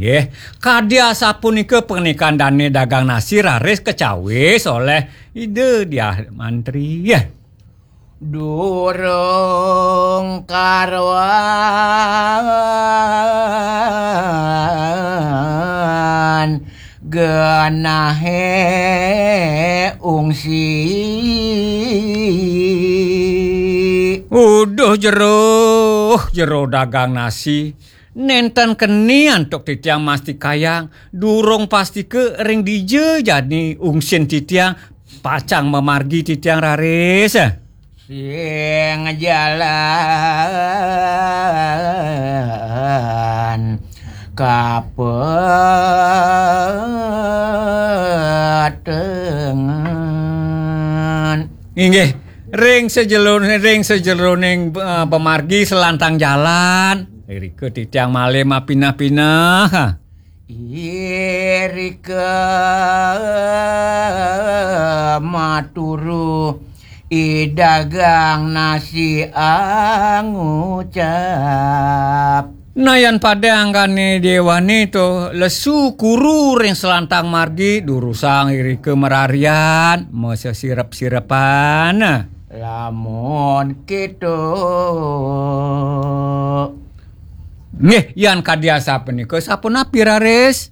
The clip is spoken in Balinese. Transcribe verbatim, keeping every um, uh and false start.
Nggih, kadi asapunika pernikahan dane dagang nasi raris kacawis oleh Ida Diah Mantri. Durung karuan genahe ungsi. Uduh jero, jero dagang nasi. Nenten keni antuk titiang mastikayang, durung pastika ring dija jani ungsin titiang pacang mamargi titiang raris. Sing jalan kapetengan. Inggih, ring sajeroning, ring sajeroning, eh, pamargi selantang jalan. Irika titiang malih mapineh-pineh. Irika maturu I dagang nasi angucap. Nah, yan pada anggane dewane to lesu kuru ring selantang margi, durusang irika mararian, masesirep-sirepan. Lamun keto. Nggih, yan kadi asapunika, sapunapi raris?